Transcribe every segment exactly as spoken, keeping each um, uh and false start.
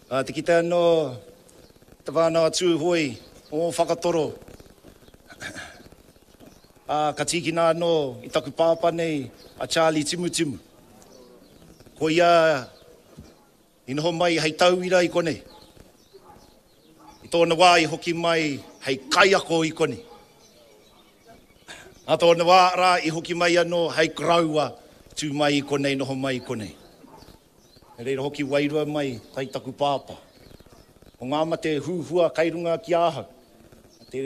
Ā, te kite anō te whānau a Tūhoe o Whakatoro. Ā, ka tīkina anō i taku pāpā nei a Charlie Timutimu. Ko ia i noho mai hei tauira i konei. I tōna wā i hoki mai hei kaiako i konei. Nā tōna wā rā i hoki mai anō hei koroua tū mai i konei, noho mai i konei. Nā reira hoki wairua mai kai taku pāpā. Ko ngā mate huhua kai runga ki ahau. Te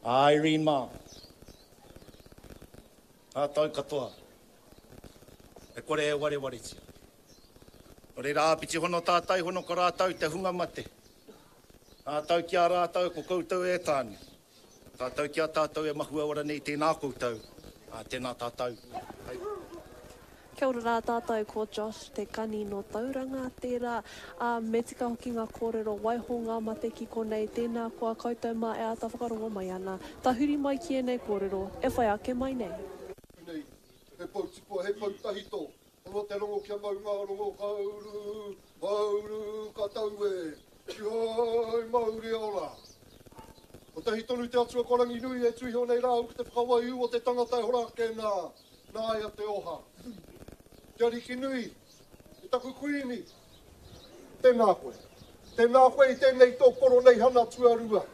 Irene mā. Ngā tau katoa. E kore e warewaretia. Nō reira āpiti hono tātai hono ko rātou te hunga mate. Tātou ki a rātou ko koutou e tāne. Tātou ki a tātou e mahue ora nei tēnā koutou, ā, tēnā tātou. Hei. Kia ora rā tātou, ko Josh Te Kani nō Tauranga tērā, ā, me tika hoki ngā kōrero, waiho ngā mate ki konei, tēnā koa koutou mā e āta whakarongo mai ana. Tahuri mai ki ēnei kōrero e whai ake mai nei. Nei, he pou tipua, he pou tahito, Hono te rongo kia mau ngā rongo ka uru, mauru ka tau e, Tihoi mauri ora. Kotahi tonu te Atua ko Ranginui e tuiho nei rāu ki te whakawaiū o te tangata e hora ake nā, nāia te oha. Te Arikinui, e taku Kuini, tēnā koe. Tēnā koe i tēnei tō koroneihana tuarua.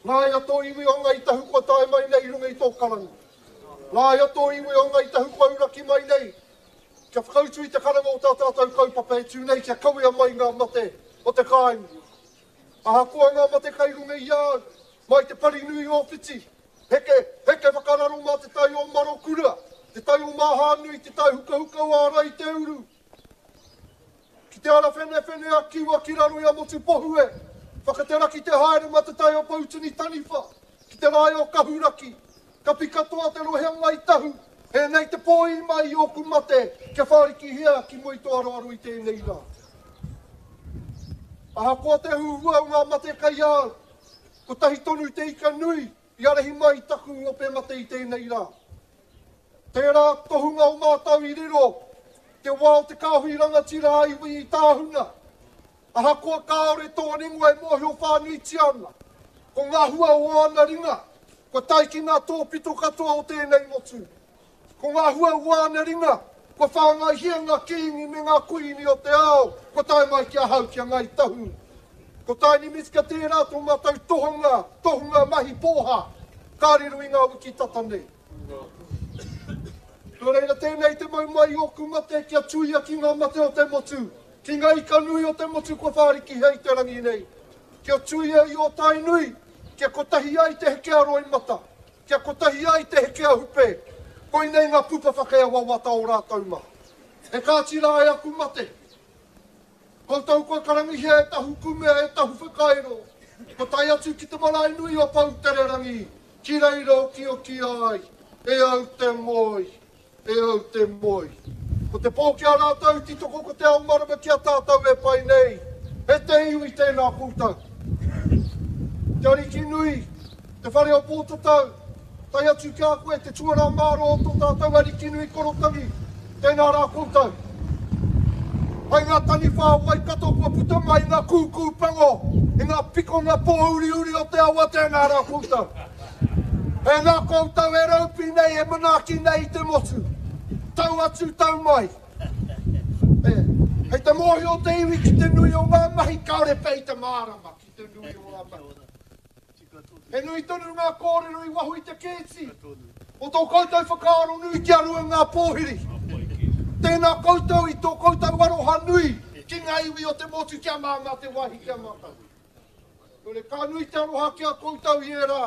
Nāia tō iwi o Ngāi Tahu kua tae mai nei i runga i tō karanga. Nāia tō iwi o Ngāi Tahu kua uraki mai nei kia whakautu i te karanga o tā tātou kaupapa e tū nei kia kawea mai ngā mate o te kāinga. Ahakoa ngā mate kai runga i a au, mai te pari nui o Whiti, heke, heke whakararo mā te tai o Marokura, te tai o Māhānui, te tai hukahuka o Ārai te uru, Ki te ara whenewhene a Kiwa ki raro i a Motupohue, whakateraki te haere ma te tai o Poutini Taniwha, ki te rae o Kahuraki, kapi katoa te rohe o Ngai Tahu, hēnei te pōī mai i ōku mate kia whārikihia ki mua i tō aroaro i tēnei rā. Ahakoa te huhua o ngā mate kai a au, kotahi tonu te ika nui i arahi mai i taku ope mate i tēnei rā. Tērā tohunga o mātou i riro te wā o te kāhui rangatira a iwi i tāhuna. Ahakoa kāore tōna ingoa e mōhio whānuitia ana, ko ngā hua o āna ringa kua tae ki ngā tōpito katoa o tēnei motu. Ko ngā hua o āna ringa kua whāngaihia ngā kīngi me ngā kuīni o te ao kua tae mai ki ahau ki a Ngāi Tahu. Ko Tiny Miska tērā tō mātou tohunga, tohunga mahi pōhā, ka riro i ngā wiki tata nei. Nō reira tēnei te mau mai i ōku mate kia tuia ki ngā mate o te motu, ki ngā ika nui o te motu kua whārikihia i te rangi nei. Kia tuia i ō Tainui, kia kotahi ai te heke a roimata, kia kotahi ai te heke a hupe, koinei ngā pupa whakea wawata o rātou mā. E kāti rā e aku mate, Koutou kua karangihia e tahu kumea, e tahu whakairo, kua tae atu ki te marae nui o Poutererangi, ki reira okioki ai, e au te moe, e au te moe. Ko te pō ki a rātou, titoko ko te ao marama ki a tātou e pai nei, e te iwi tēnā koutou. Te Ariki nui, te whare o Pōtatau, tae atu ki a koe te tuarā mārō o tō tātou Ariki nui Korotangi, tēnā rā koutou. Hai ngā taniwha o Waikato kua puta mai ngā kūkū pango i ngā pikonga pōuriuri o te awa, tēnā rā koutou. Tēnā koutou e raupi nei, e manaaki nei i te motu. Tau atu, tau mai. E, hei te mōhio te iwi ki te nui o ngā mahi, kāore pea i te mārama ki te nui o ngā mahi. He nui tonu ngā kōrero i waho i te kēti o tō koutou whakaaro nui ki a Rua Ngā Pōhiri. Tēnā koutou i tō koutou aroha nui ki ngā iwi o te motu kia māmā te wāhi ki a mātou. Nō reira, ka nui te aroha ki a koutou i ērā,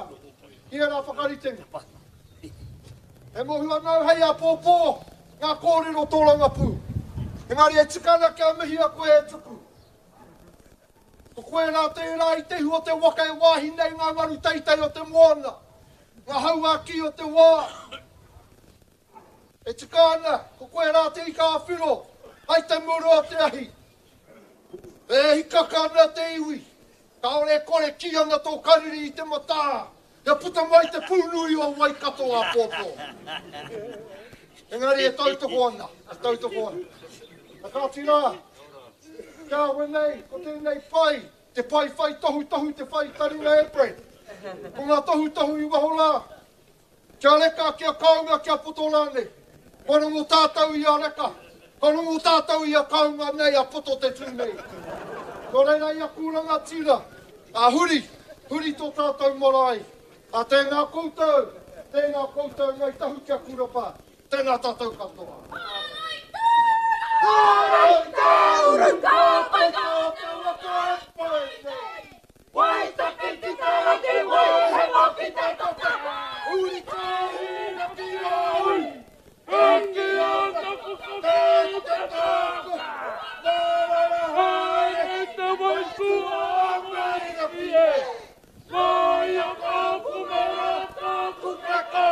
i ērā whakaritenga. E mōhio ana au hei āpōpō ngā kōrero tōrangapū. Engari e tika ana kia mihia koe e Tuku. Ko koe rā tērā i te ihu o te waka e wāhi nei ngā ngaru teitei o te moana, ngā hau ā-kī o te wā. E tika ana, ko koe rā te ika ā-whiro, hai te muru o te ahi. E hikaka ana te iwi, kāore e kore kī ana tō kariri i te matā, kia puta mai te pūnui o Waikato āpōpō. Engari e tautoko ana, e tautoko ana. A kāti rā, kia wenei, ko tēnei pai, te pai whai tohu tohu, te whai taringa e Brad. Ko ngā tohu tohu i waho rā, kia reka, kia kaunga, kia poto rānei. Kua rongo tātou i a reka, kua rongo tātou i a kaunga nei, a poto te tū nei. Nō reira i aku rangatira, a huri, huri tō tātou marae. A tēnā koutou, tēnā koutou Ngai Tahu kia kurapa, tēnā tātou katoa. Hārai tāuru ka pai ka waka pai nei. Waitaki ki te raki wai he waki te toka. Uri ka hina ki a ui. Hiki ana te te toka. Nā rara haere te wai kua ngai rapi e. Mai a ka pumera ka kupeka.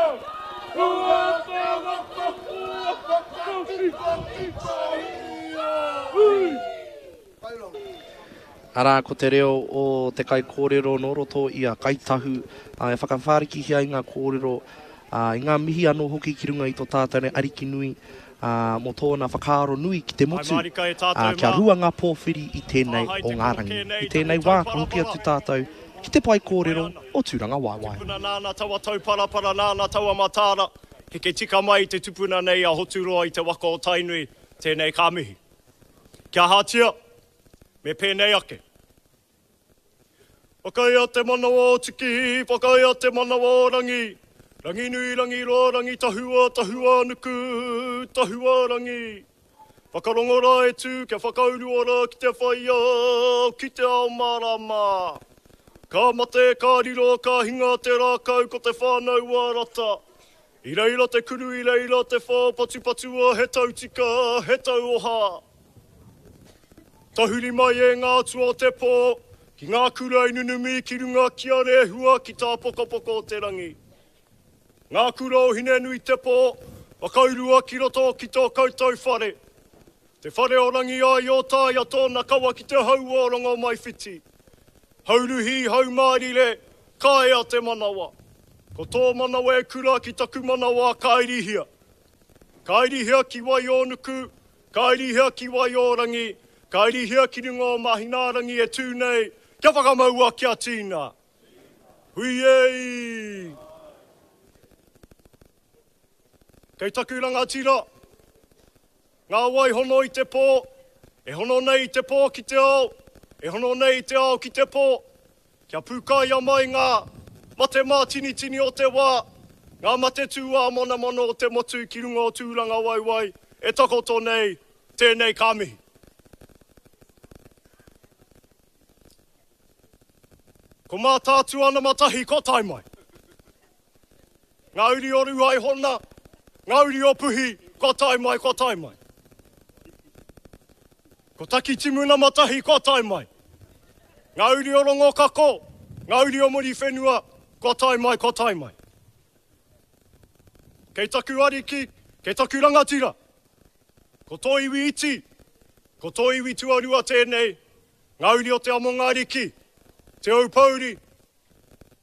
Kua te waka kua waka ki waki pahia. Ui! Arā, ko te reo o te kaikōrero nō roto i a Kāi Tahu, ā, e whakawhārikihia ai ngā kōrero, ā, i ngā mihi anō hoki ki runga i tō tātou nei Ariki nui, ā, mō tōna whakaaro nui ki te Hai motu, mārika e ā, tātou kia mā. rua ngā pōwhiri i tēnei Āhai o te ngā koroke rangi. nei I tēnei taku wā ka hoki tauparapara. atu tātou ki te pae Whai kōrero ana. o Tūrangawaewae. Tupuna nāna taua tauparapara, nāna taua mataara, heke tika mai i te tupuna nei a Hoturoa i te waka o Tainui, tēnei ka mihi. Kia ahatia, me pēnei ake. Whakaea te manawa o Tiki, whakaea te manawa o Rangi, Ranginui, Rangiroa, Rangitahua, Tahua Nuku, Tahua Rangi. Whakarongo rā e tū, kia whakaurua rā ki te whai ao, ki te ao mārama. Ka mate, ka riro, ka hinga te rākau ko te whānau a Rata. I reira te kuru, i reira te whao, patupatua he tautika, he tauoha. Tahuri mai e ngā atua o te pō, ki ngā kura i nunumi ki runga ki a Rehua ki tāpokopoko o te rangi. Ngā kura o Hinenui te pō, whakaurua ki roto ki tō koutou whare. Te whare o Rangiāio tāia tōna kawa ki te hau o Rongomaiwhiti. Hauruhi, haumārire, ka ea te manawa. Ko tō manawa e kura ki taku manawa ka irihia. Ka irihia ki Waiōnuku, ka irihia ki Waiōrangi, ka irihia ki runga o Mahinārangi e tū nei, kia whakamaua kia tīna. Hui ei! Kei taku rangatira, ngā wai hono i te pō, e hono nei i te pō ki te ao, e hono nei i te ao ki te pō, kia pūkaia mai ngā mate mātinitini o te wā, ngā mate tūāmonamono o te motu ki runga o Tūrangawaewae, e takoto nei, tēnei ka mihi. Ko Mātaatua ana matahi kua tae mai. Ngā uri o Ruaihona, ngā uri o Puhi, kua tae mai, kua tae mai. Ko Takitimu nama tahi kua tae mai. Ngā uri o Rongokako, ngā uri o Muriwhenua, kua tae mai, kua tae mai. Kei taku ariki, kei taku rangatira. Ko tō iwi iti, ko tō iwi tuarua tēnei, ngā uri o Te Amonga Ariki, Te Aupōuri,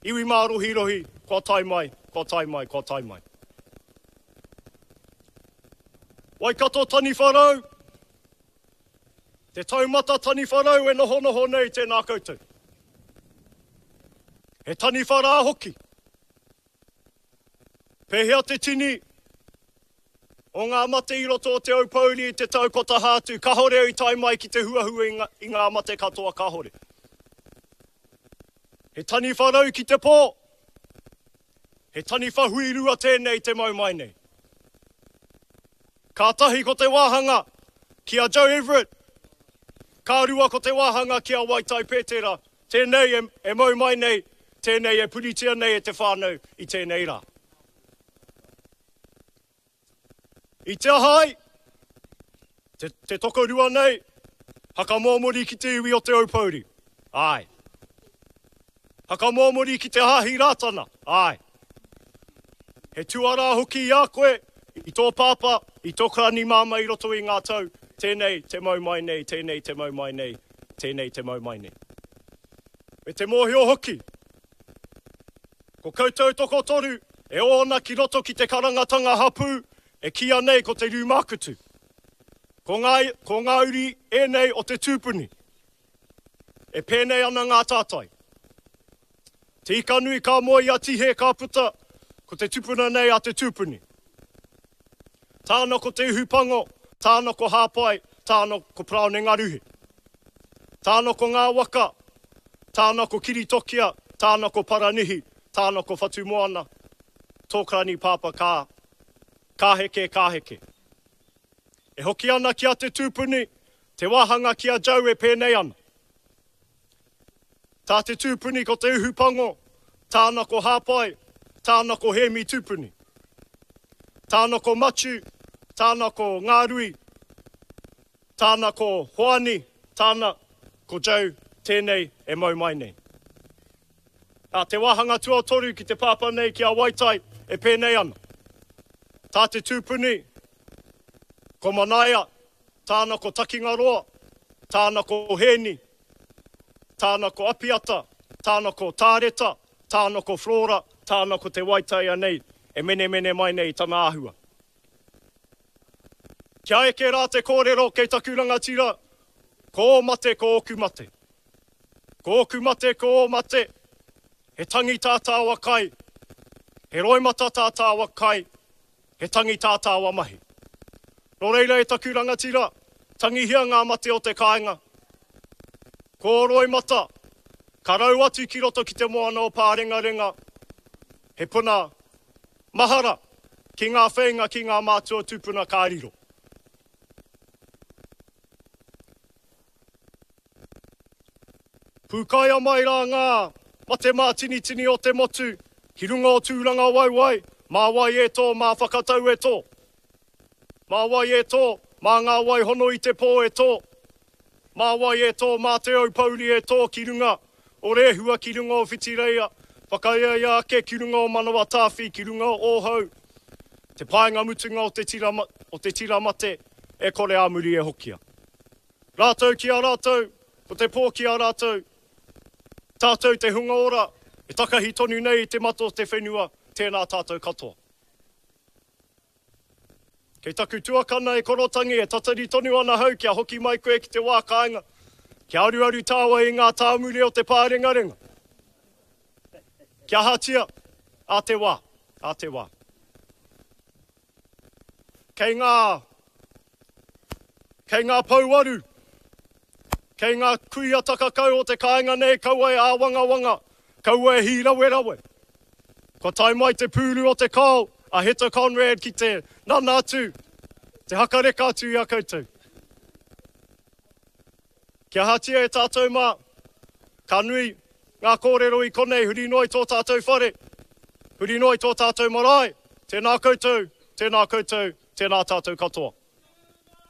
iwi mārohirohi, kua tae mai, kua tae mai, kua tae mai. Waikato taniwha rau, te taumata taniwha rau e nohonoho nei tēnā koutou. He taniwha rā hoki. Pēhea te tini o ngā mate i roto o Te Aupōuri i te tau kotaha atu, kahore i tae mai ki te huahua i ngā, i ngā mate katoa kahore. He taniwha rau ki te pō, he taniwha huirua tēnei te mau mai nei. Kātahi ko te wāhanga ki a Joe Everett, ka rua ko te wāhanga ki a Waitai Petera, tēnei e, e mau mai nei, tēnei e puritia nei e te whānau i tēnei rā. I te aha ai, te, te tokorua nei, hakamōmori ki te iwi o Te Aupōuri, āe. Hakamōmori ki te Hāhi Rātana, āe. He tuarā hoki i a koe, i tō pāpā, i tō karani māmā i roto i ngā tau, tēnei te mau mai nei, tēnei te mau mai nei, tēnei te mau mai nei. Me te mōhio hoki, ko koutou tokotoru e ōna ki roto ki te karangatanga hapū, e kīia nei ko te Rūmākutu. Ko ngā, ko ngā uri ēnei o te tūpuni. E pēnei ana ngā tātai. Te ika nui ka moe i a Tihe ka puta, ko te tupuna nei a te tūpuni. Tāna ko Te Ihupango, tāna ko Hāpai, tāna ko Paraone Ngaruhi. Tāna ko ngā waka, tāna ko Kiritokia, tāna ko Paranihi, tāna ko Whatumoana, tō karani pāpā ka, ka heke, ka heke. E hoki ana ki a te tūpuni, te wāhanga ki a Joe e pēnei ana. Tā te tūpuni ko Te Uhupango, tāna ko Hāpai, tāna ko Hēmi Tūpuni. Tāna ko Matiu, tāna ko Ngārui, tāna ko Hoani, tāna ko Joe tēnei e mau mai nei. Nā te wāhanga tuatoru ki te pāpā nei ki a Waitai e pēnei ana. Tā te tūpuni, ko Manaia, tāna ko Takingaroa, tāna ko Hēni, tāna ko Apiata, tāna ko Tāreta, tāna ko Flora, tāna ko Te Waitaia nei e menemene mai nei i tana āhua. Kia eke rā te kōrero kei taku rangatira, ko ō mate ko ōku mate. Ko ōku mate ko ō mate, he tangi tā tāua kai, he roimata tā tāua kai, he tangi tā tāua mahi. Nō reira e taku rangatira, tangihia ngā mate o te kāinga. Ko ō roimata, ka rau atu ki roto ki te moana o Pārengarenga, he puna mahara ki ngā wheinga ki ngā mātua tūpuna ka riro. Pūkaia mai rā ngā mate mātinitini o te motu ki runga o Tūrangawaewae, mā wai e tō, mā whakatau e tō. Mā wai e tō, mā ngā wai hono i te pō e tō. Mā wai e tō, mā Te Aupouri e tō ki runga o Rehua, ki runga o Whitireia, whakaeaea ake ki runga o Manawa Tāwhi, ki runga o Ōhau, te paenga mutunga o te tira, o te tira mate e kore ā muri e hokia. Rātou ki a rātou, ko te pō ki a rātou, tātou te hunga ora, e takahi tonu nei i te mata o te whenua, tēnā tātou katoa. Kei taku tuakana e korotangi e tatari tonu ana hau kia hoki mai koe ki te wā kāinga, kia aruaru tāua i ngā tāmure o te pārengarenga. Kia ahatia, ā te wā, ā te wā. Kei ngā, kei ngā pouaru, kei ngā kuia takakau o te kāinga nei kaua e āwangawanga, kaua e hīrawerawe. Kua tae mai te pūru o te kao a Heta Conrad ki te nana atu, te hakareka atu i a koutou. Kia ahatia e tātou mā, ka nui ngā kōrero i konei huri noa i tō tātou whare, huri noa i tō tātou marae, tēnā koutou, tēnā koutou, tēnā tātou katoa.